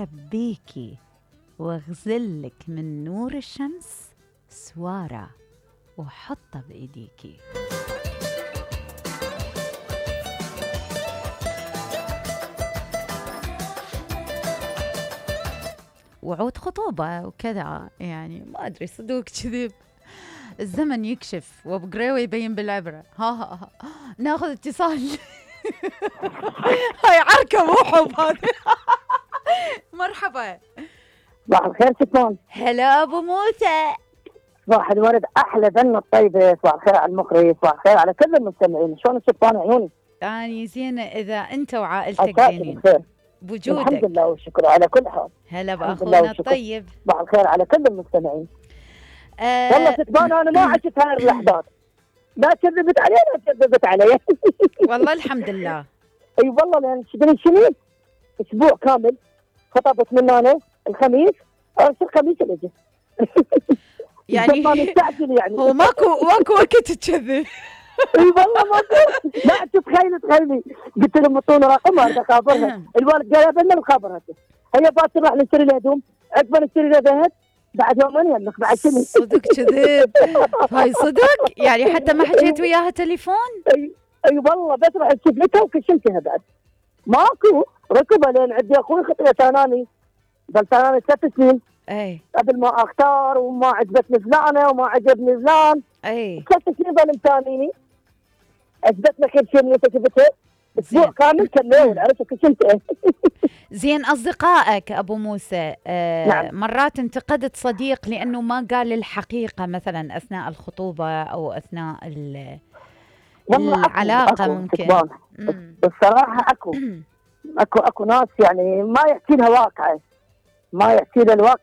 أخبيكي واغزلك من نور الشمس سوارة وحطه بإيديكي. وعود خطوبة وكذا، يعني ما أدري صدق كذب، الزمن يكشف وبقريوة يبين بالعبرة. ها ناخذ اتصال. هاي عركة مو حب هذا. مرحبا. صباح الخير شكرا. هلا أبو موسى. صباح الورد، أحلى ذنة الطيبة. صباح الخير على المخرج، صباح الخير على كل المستمعين. شلون شكرا عيوني؟ أني زينة إذا أنت وعائلتك زينين بوجودك. الحمد لله والشكر على كل حال. هلا بأخونا الطيب. صباح الخير على كل المستمعين. والله شكرا، أنا ما عشت هاي اللحظات، لا كذبت علي لا كذبت علي. والله الحمد لله. اي والله، لان شنو اسبوع كامل خطبت من انا الخميس، الخميس اللي جه. يعني يعني هو ماكو وقت تكذب. اي والله ماكو. لا تخيلي قلت لهم اعطونا رقمها بدي اخابرها. الوالد قال لنا مخابرته، هي باكر راح نشتري لها هدوم، عقب نشتري لها ذهب، بعد يومين يملك بعد شنو. صدق كذب. هاي صدق يعني حتى ما حكيت وياها تليفون؟ اي والله، بس رحت شفلتها وكشمتها بعد ماكو. ركبها لين عندي اخوي خطيه ثاناني، ظل ثاناني 3 سنين اي قبل ما اختار، وما عجبتني فلانه وما عجبني فلان. اي 3 سنين ظل مثانيني، اثبتنا كل شيء من شفتها اسبوع كامل كمل عرفت كشمتها. زين أصدقائك أبو موسى نعم. مرات انتقدت صديق لأنه ما قال الحقيقة مثلا أثناء الخطوبة أو أثناء العلاقة. أكو ممكن بالصراحة أكو ناس يعني ما يحكي لها واقعة، ما يحكي لها الواقع